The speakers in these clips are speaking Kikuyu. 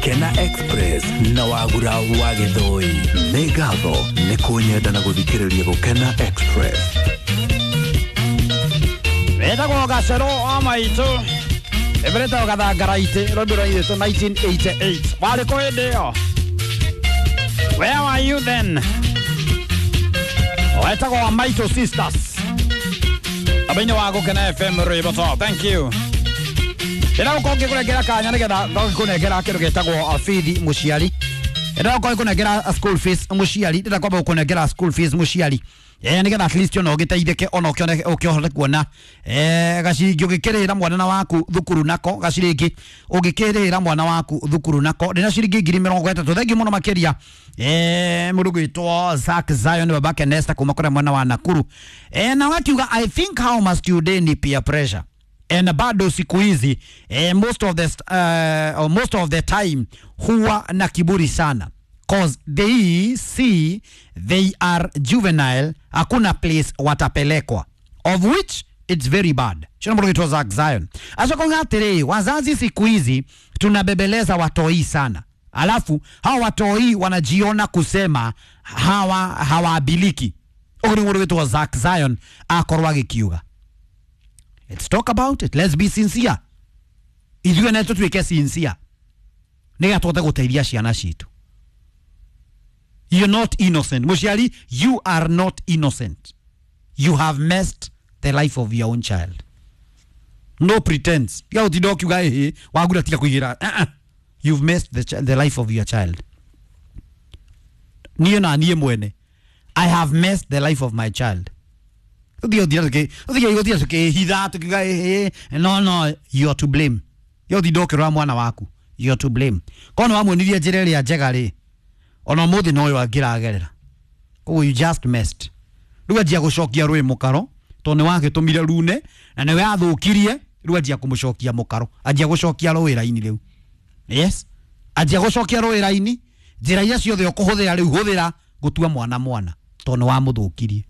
Gukena Express na Wagura wa Gĩthũi. Nĩ ngatho nĩ kũnyenda na gũthikĩrĩria Gũkena Express. Wetagwo gacero wa maitũ ĩmĩrĩtagwo gathangaraitĩ rwĩmbo rwairĩtwo 1988. Warĩ kũ hĩndĩ ĩyo? Where were you then? Wetagwo wa Maitũ Sisters aba-inĩ wa Gũkena FM rwĩmbo to thank you. Ndĩra gũkorwo ngĩkũnengera kanya nĩgetha ngĩkũnengera kĩndũ gĩtagwo bithi mũciari. Ndĩra gũkorwo ngĩkũnengera school fees mũciari. Ndĩra kwamba gũkũnengera school fees mũciari, nĩgetha at least ona ũgĩteithĩke, ona ũkĩone ũkĩhote kuona gaciringi ũgĩkĩrĩra mwana na waku thukuru nako, gaciringi ũgĩkĩrĩra mwana waku thukuru nako. Ndĩna ciringi 30,000. Thengiũ mũno makĩria mũndũ gwĩtwo Zack Zion babake Nesta kuma kũrĩa mwena wa Nakuru, na wakiuga, "I think how must you day ni peer pressure and bado siku hizi most of the time huwa na kiburi sana 'cause they see they are juvenile, hakuna place watapelekwa, of which it's very bad." Shona mũndũ gwĩtwo Zack Zion acoka atĩrĩ, wazazi siku hizi tunabebeleza watoi sana, alafu hawa watoi wanajiona kusema hawa hawaabiliki. Ũguo nĩ mũndũ gwĩtwo Zack Zion akorwo agĩkiuga. Let's talk about it. Let's be sincere. Ithuĩ na tũtuĩke sincere nĩgetha tũhote gũteithia ciana citũ. You're not innocent mũciari, you are not innocent. You have messed the life of your own child. No pretense. Tiga gũtinda ũkiuga ĩhĩ wagura, tiga kũigĩra. Uh-uh. You've messed the life of your child. Niĩ na niĩ mwene, I have messed the life of my child. Tũthiĩ gũthiĩ tũkĩhitha tũkiuga ĩhĩ. No, no, you are to blame. Yo tinda ũkĩrora mwana waku, you are to blame. Korwo nĩ wamuonirie njĩra ĩrĩa njega rĩ, ona ũmũthĩ noyo angĩragerera. Koguo you just messed. Rĩu anjia gũcokia rũĩ mũkaro, tondũ nĩ wagĩtũmire rune na nĩwe athũkirie. Rĩu anjia kũmũcokia mũkaro, anjia gũcokia rũĩ raini rĩu. Yes, anjia gũcokia rũĩ raini. Njĩra iria ciothe ũkũhũthĩra rĩu, hũthĩra gũtua mwana mwana, tondũ nĩ wamũthũkirie.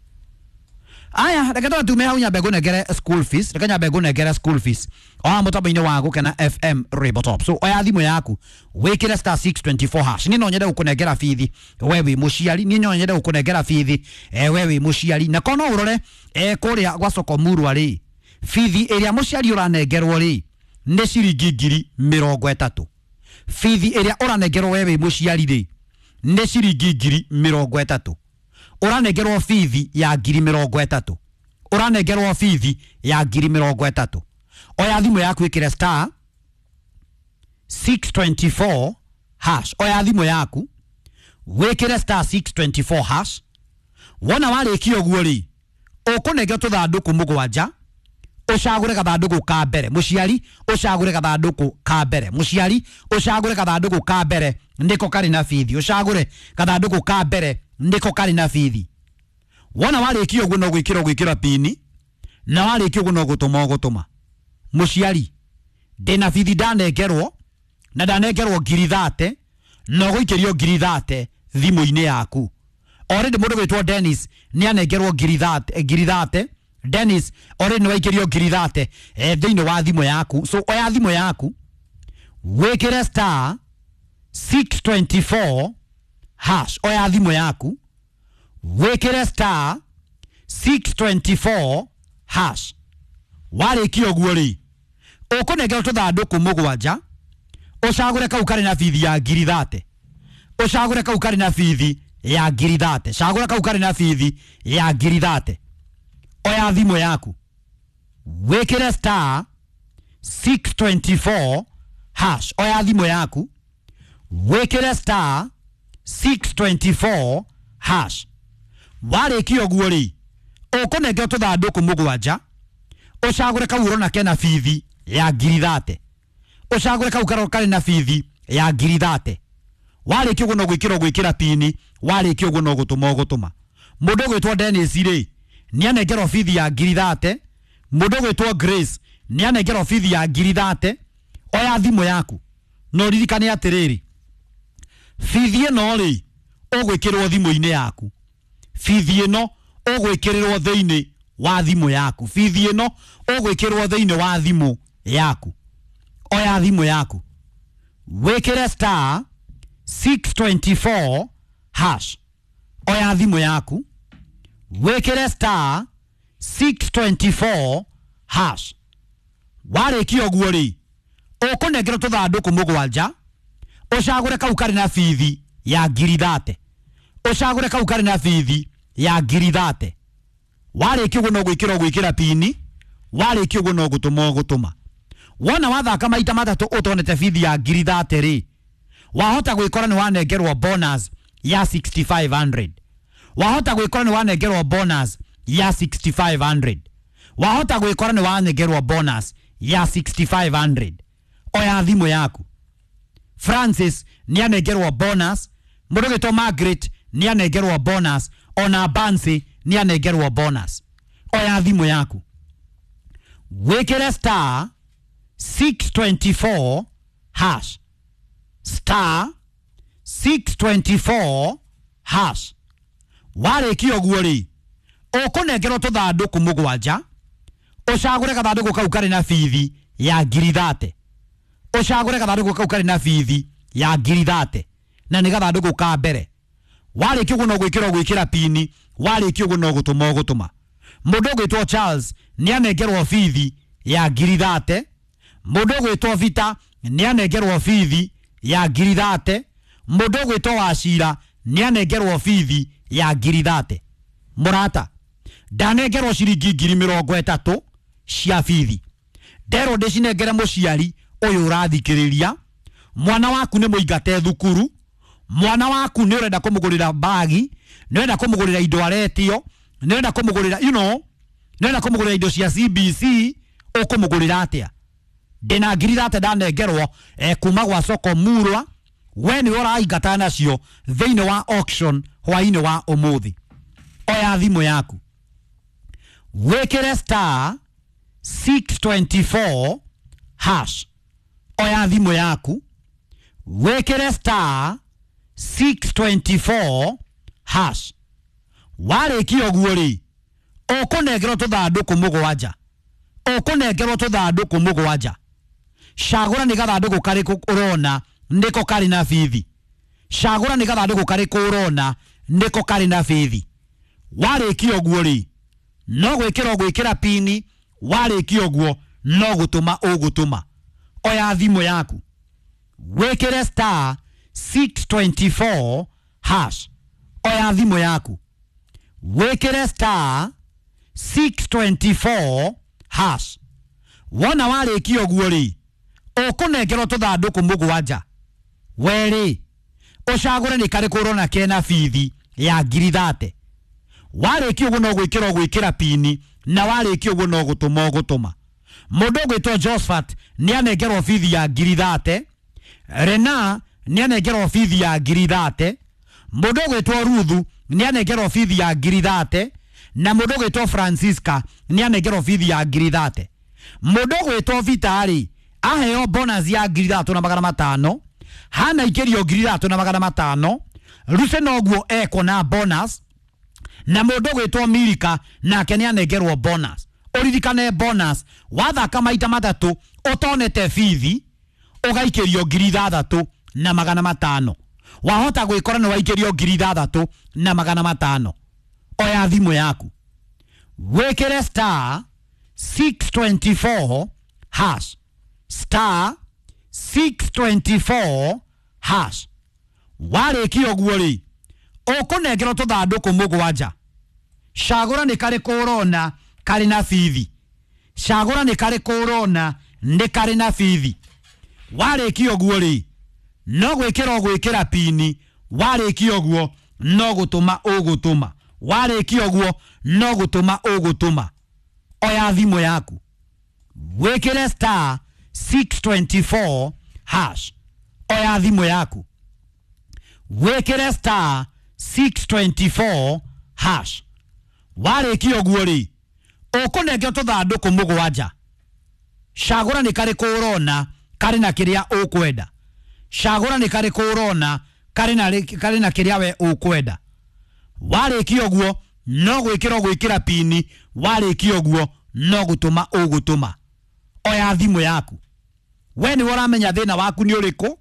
Aya, reke tume hau nyambe ngũnengere school fees. Reke nyambe ngũnengere school fees o haha mũtambo-inĩ wa Gũkena FM Rainbow Top. So oya thimũ yaku, wĩkĩre *624#. Niĩ no nyende gũkũnengera bithi we wĩ mũciari. Niĩ no nyende gũkũnengera bithi we wĩ mũciari. Na korwo no ũrore kũrĩa gwa soko murwa rĩ, bithi ĩrĩa mũciari ũranengerwo rĩ nĩ ciringi 30,000. Bithi ĩrĩa ũranengerwo we wĩ mũciari rĩ nĩ ciringi 30,000. Ũranengerwo bithi ya 30,000. Ũranengerwo bithi ya 30,000. Oya thimũ yaku, ĩkĩre *624#. Oya thimũ yaku, wĩkĩre *624#. Wona warĩkia ũguo rĩ, ũkũnengera tũthandũkũ mũgwanja, ũcagũre gathandũkũ ka mbere. Mũciari, ũcagũre gathandũkũ ka mbere. Mũciari, ũcagũre gathandũkũ ka mbere, nĩko karĩ na bithi. Ũcagũre gathandũkũ ka mbere, nĩko karĩ na bithi. Wona warĩkia ũguo, no gwĩkĩra ũgwĩkĩra pini, na warĩkia ũguo no gũtũma ũgũtũma. Mũciari, ndĩna bithi ndanengerwo, na ndanengerwo 30,000, na ũgũikĩrio 30,000 thimũ-inĩ yaku. Already mũndũ gwĩtwo Dennis nĩ anengerwo 30,000, 30,000. Dennis, already nĩ waikĩrio 30,000 thĩinĩ wa thimũ yaku. So oya thimũ yaku, wĩkĩre *624#. Oya thimũ yaku, wĩkĩre *624#. Warĩkia ũguo rĩ, ũkũnengerwo tũthandũkũ mũgwanja, ũcagũre kau karĩ na bithi ya 30,000. Ũcagũre kau karĩ na bithi ya 30,000. Cagũra kau karĩ na bithi ya 30,000. Oya thimũ yaku, wĩkĩre *624#. Oya thimũ yaku, wĩkĩre *624#. Warĩkia ũguo rĩ, ũkũnengerwo tũthandũkũ mũgwanja, ũcagũre kau ũrona kena bithi ya 30,000. Ũcagũre kau karĩ na bithi ya 30,000. Warĩkia ũguo no gwĩkĩra ũgwĩkĩra pini. Warĩkia ũguo no gũtũma ũgũtũma. Mũndũ ũgwĩtwo Dennis rĩ, nĩ anengerwo bithi ya 30,000. Mũndũ ũgwĩtwo Grace nĩ anengerwo bithi ya 30,000. Oya thimũ yaku na ũririkane atĩrĩrĩ, bithi ĩno rĩ ũgwĩkĩrwo thimũ-inĩ yaku. Bithi ĩno ũgwĩkĩrĩrwo thĩinĩ wa thimũ yaku. Bithi ĩno ũgwĩkĩrwo thĩinĩ wa thimũ yaku. Oya thimũ yaku. Wĩkĩre star 624 hash. Oya thimũ yaku wĩkĩre star 624 hash. Warĩkia ũguo rĩ, ũkũnengerwo tũthandũkũ mũgwanja, ũcagũre kau karĩ na bithi ya ngiri 30, ũcagũre kau karĩ na bithi ya ngiri 30. Warĩkia ũguo no gwĩkĩra ũgwĩkĩra pini, warĩkia ũguo no gũtũma ũgũtũma. Wona wathaka maita matatũ ũtonete bithi ya ngiri 30 rĩ, wahota gwĩkora nĩ wanengerwo bonus ya 6500. Wahota gwĩkora nĩ wanengerwo bonus ya 6500. Wahota gwĩkora nĩ wanengerwo bonus ya 6500. Oya thimũ yaku. Francis nĩ anengerwo bonus, mũndũ ũgwĩtwo Margaret nĩ anengerwo bonus, ona Bansi nĩ anengerwo bonus. Oya thimũ yaku wĩkĩre star 624 hash, star 624 hash. Warĩkia ũguo rĩ, ũkũnengerwo tũthandũkũ mũgwanja, ũcagũre gathandũkũ kau karĩ na bithi ya ngiri 30, ũcagũre gathandũkũ kau karĩ na bithi ya ngiri 30, na nĩ gathandũkũ ka mbere. Warĩkia ũguo no gwĩkĩra ũgwĩkĩra pini, warĩkia ũguo no gũtũma ũgũtũma. Mũndũ ũgwĩtwo Charles nĩ anengerwo bithi ya ngiri 30, mũndũ ũgwĩtwo Vita nĩ anengerwo bithi ya ngiri 30, mũndũ ũgwĩtwo Wacira nĩ anengerwo bithi ya ngiri 30. Mũrata, ndanengerwo ciringi ngiri 30 cia bithi, nderwo ndĩcinengere mũciari ũyũ ũrathikĩrĩria. Mwana waku nĩ mũingate thukuru, mwana waku nĩ ũrenda kũmũgũrĩra bagi, nĩ ũrenda kũmũgũrĩra indo aretio, nĩ ũrenda kũmũgũrĩra you know, nĩ ũrenda kũmũgũrĩra indo cia CBC, ũkũmũgũrĩra atĩa? Ndĩna ngiri 30 ndanengerwo kuma gwa soko Murwa, we nĩ ũraingata nacio thĩinĩ wa auction hwainĩ wa ũmũthĩ. Oya thimũ yaku wĩkĩre star 624 hash. Oya thimũ yaku wĩkĩre star 624 hash. Warĩkia ũguo rĩ, ũkũnengerwo tũthandũkũ mũgwanja, ũkũnengerwo tũthandũkũ mũgwanja. Cagũra nĩ gathandũkũ karĩkũ ũrona nĩko karĩ na bithi, cagũra nĩ gathandũkũ karĩkũ ũrona nĩko karĩ na bithi. Warĩkia ũguo rĩ, no gwĩkĩra ũgwĩkĩra pini, warĩkia ũguo no gũtũma ũgũtũma. Oya thimũ yaku wĩkĩre star 624 hash. Oya thimũ yaku wĩkĩre star 624 hash. Wona warĩkia ũguo rĩ, ũkũnengerwo tũthandũkũ mũgwanja, werĩ ũcagũre nĩ karĩkũ ũrona kena bithi ya ngiri 30. Warĩkia ũguo no gwĩkĩra ũgwĩkĩra pini, na warĩkia ũguo no gũtũma ũgũtũma. Mũndũ ũgwĩtwo Josephat nĩ anengerwo bithi ya ngiri 30, Rena nĩ anengerwo bithi ya ngiri 30, mũndũ ũgwĩtwo Ruthu nĩ anengerwo bithi ya ngiri 30, na mũndũ ũgwĩtwo Francisca nĩ anengerwo bithi ya ngiri 30. Mũndũ ũgwĩtwo Vita rĩ, aheo bonus ya ngiri 3,500, hana ikĩrio ngiri 3,500, Ruse noguo ekwo na bonus, na mũndũ ũgwĩtwo Milika nake nĩ anengerwo bonus. Ũririkane bonus wathaka maita matatũ ũtonete bithi ũgaikĩrio ngiri 6,500. Wahota gwĩkora nĩ waikĩrio ngiri 6,500. Oya thimũ yaku wĩkĩre star 624 hash, star 624 hash. Warĩkia ũguo rĩ, ũkũnengerwo tũthandũkũ mũgwanja, cagũra nĩ karĩkũ ũrona karĩ na bithi, cagũra nĩ karĩkũ ũrona nĩ karĩ na bithi. Warĩkia ũguo rĩ, no gwĩkĩra ũgwĩkĩra pini, warĩkia ũguo no gũtũma ũgũtũma, warĩkia ũguo no gũtũma ũgũtũma. Oya thimũ yaku wĩkĩre star 624 hash. Oya thimũ yaku wĩkĩre star 624 hash. Warĩkia ũguo rĩ, ũkũnengerwo tũthandũkũ mũgwanja, cagũra nĩ karĩkũ ũrona karĩ na kĩrĩa ũkwenda, cagũra nĩ karĩkũ ũrona karĩ na kĩrĩa we ũkwenda. Warĩkia ũguo no gwĩkĩra ũgwĩkĩra pini, warĩkia ũguo no gũtũma ũgũtũma. Oya thimũ yaku, we nĩwe ũramenya thĩna waku nĩ ũrĩkũ,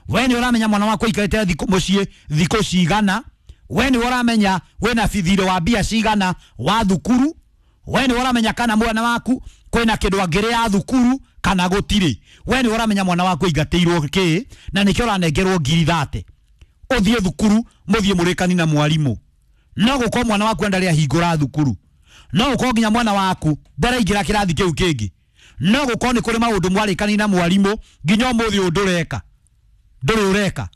We nĩ ũramenya mwana waku aikarĩte thikũ mũciĩ thikũ cigana. We nĩ ũramenya wĩna bithirĩ wa mbia cigana wa thukuru. We nĩ ũramenya kana mwana waku kwĩna kĩndũ angĩrĩa thukuru kana gũtirĩ. We nĩ ũramenya mwana waku aingatĩirwo kĩ na nĩkĩo ũranengerwo 30,000 ũthiĩ thukuru mũthiĩ mũrĩkani na mwarimũ. No gũkorwo mwana waku ndarĩ ahingũra thukuru, no gũkorwo nginya mwana waku ndaraingĩra kĩrathi kĩu kĩngĩ, no gũkorwo nĩ kũrĩ maũndũ mwarĩkani na mwarimũ nginya ũmũthĩ ũyũ ndũreka, ndũrĩ ũreka.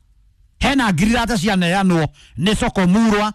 Hena 30,000 cianeanwo nĩ soko murwa.